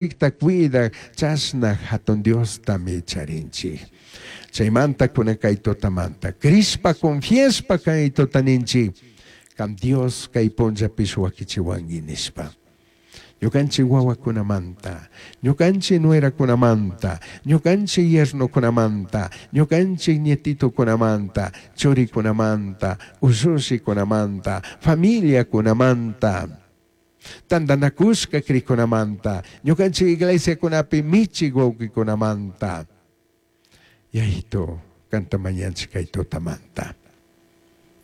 Ñucanchijta cuidaj chashna Jatun Diostami charinchij. Chaimanta cunan cai tutamanta crishpa, confiashpa cai tuta ninchij, Can Dios cai punllapish huaquichihuangui nishpa. Ñucanchij huahuacunamanta, ñucanchij nueracunamanta, ñucanchij yernocunamanta, ñucanchij nietitocunamanta, churicunamanta, ushushicunamanta, familiacunamanta, tandanacushca cricunamanta, ñucanchij iglesiacunapi michij huauquicunamanta. Yayitu, canta mañanchij cai tutamanta.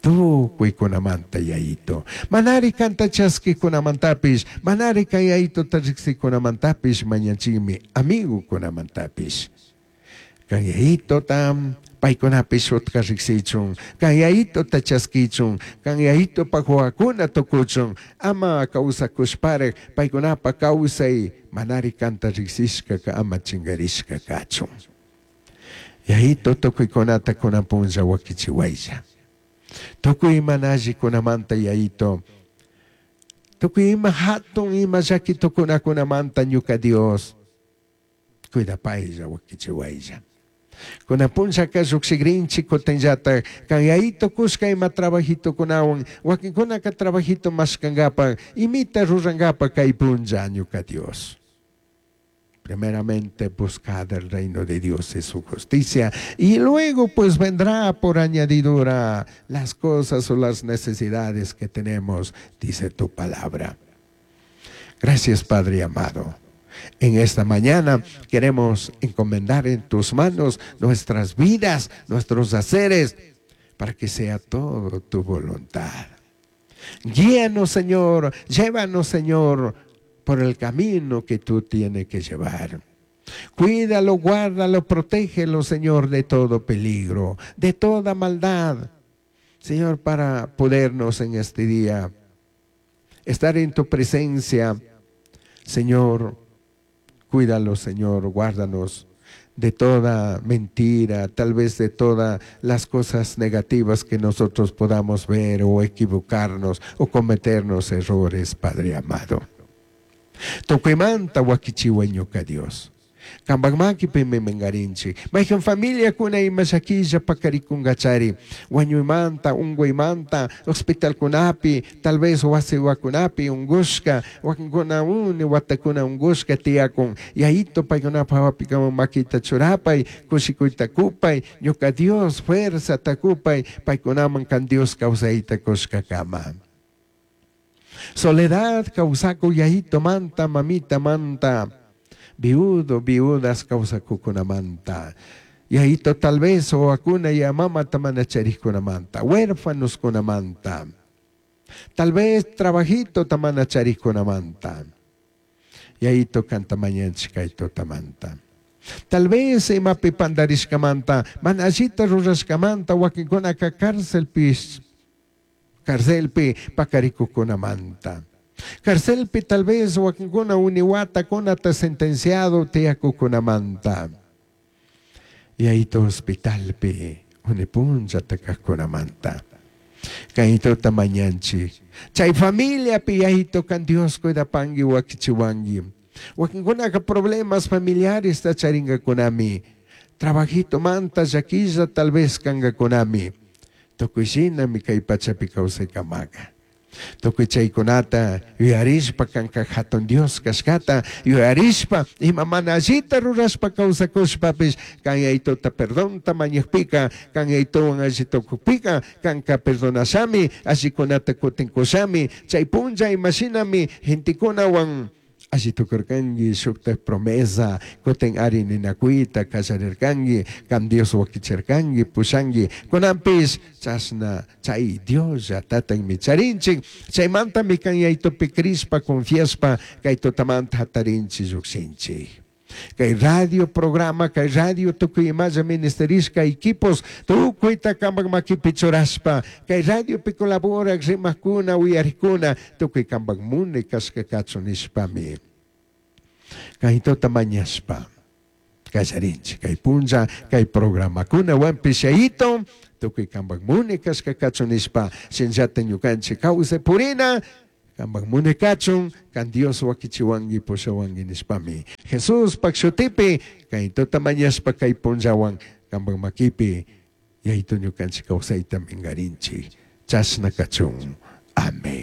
Tucuicunamanta, Yayitu. Manari canta chasquicunamantapish, manari cai Yayituta rijsicunamantapish mañanchijmi, amigocunamantapish. Can Yayituta paicunapish utca rijsichun, can Yayituta chasquichun, can Yayitupaj huahuacuna tucuchun, ama causacushparaj paicunapaj causai manari canta rijsishcaca ama chingarishca cachun. Yayitu tucuicunata cunan punlla huaquichihuailla. Tucui mana allicunamanta Yayitu, tucui ima jatun ima llaqui tucunacunamanta ñuca Dios, cuidapailla huaquichihuailla. Cunan punllaca llujshigrinchij cutinllataj can Yayitu cushca ima trabajitocunahuan, huaquincunaca trabajito mashcangapaj, imita rurangapaj cai punlla ñuca Dios. Primeramente buscad el reino de Dios y su justicia, y luego pues vendrá por añadidura las cosas o las necesidades que tenemos, dice tu palabra. Gracias, Padre amado. En esta mañana queremos encomendar en tus manos nuestras vidas, nuestros haceres, para que sea todo tu voluntad. Guíanos, Señor, llévanos, Señor, por el camino que tú tienes que llevar. Cuídalo, guárdalo, protégelo, Señor, de todo peligro, de toda maldad. Señor, para podernos en este día estar en tu presencia. Señor, cuídalo, Señor, guárdanos de toda mentira, tal vez de todas las cosas negativas que nosotros podamos ver o equivocarnos o cometernos errores, Padre amado. Tucuimanta huaquichihuai ñuca Dios. Cambaj maquipimi mingarinchij. Maijan familiacuna ima llaquilla pacaricungachari. Huañuimanta, ungüimanta, hospitalcunapi, tal vez huasihuacunapi ungushca, huaquincuna uni huatacuna ungushca tiyacun. Yayitu paicunapaj jahuapicaman maquita churapai, cushicuita cupai, ñuca Dios fuerzata cupai, paicunaman can Dios causaita cushcacama. Soledad causacuj yayitumanta, mamitamanta, viudo, viudas causacucunamanta, yayito tal vez huahuacuna ya mamata mana charijcunamanta, huérfanoscunamanta, tal vez trabajitota mana charijcunamanta, yayito canta mañanchij cai tutamanta. Tal vez imapi pandarishcamanta, mana allita rurashcamanta, huaquincunaca carcelpish, carcelpi pacaricujcunamanta. Carcelpi tal vez huaquincuna uni huatacunata sentenciado tiyacucunamanta. Yayito hospitalpi uni punllata cajcunamanta. Cayituta mañanchij. Chay familiapi yayito can Dios cuidapangui huaquichihuangui. Huaquincunaca problemas familiaresta charingacunami. Trabajitomanta llaquilla tal vez cangacunami. Tucui shinami cai pachapi causaicamaca. Tucui chaicunata yuyarishpa canca jatun Dios cashcata yuyarishpa ima mana allita rurashpa causacushpapish can Yayituta perdonta mañajpica, can Yayituhuan alli tucujpica canca perdonashami, allicunata cutin cushami. Chai punlla ima shinami gentecunahuan alli tucurcangui, shujtaj promesa cutin ari ninacuita callarircangui, can Dios huaquichircangui, pushangui. Cunanpish chashna chai Diosllatatajmi charinchij. Chaimantami can Yayitupi crishpa, confiashpa cai tutamanta jatarinchij llujshinchij. Cai radio programa, cai radio tucui imalla ministerishca equipos tucuita cambaj maquipi churashpa, cai radiopi colaboraj rimajcuna, uyarijcuna, tucui cambaj munai cashca cachun nishpami cai tuta mañashpa callarinchij. Cai punlla, cai programacunahuanpish Yayito, tucui cambaj munai cashca cachun nishpa, shinallata ñucanchij causai purina. Cambaj munai cachun, can Dios huaquichihuangui pushahuangui nishpami. Jesuspaj shutipi cai tuta mañashpa cai punllahuan cambaj maquipi Yayitu ñucanchij causaita mingarinchij. Chashna cachun. Amén.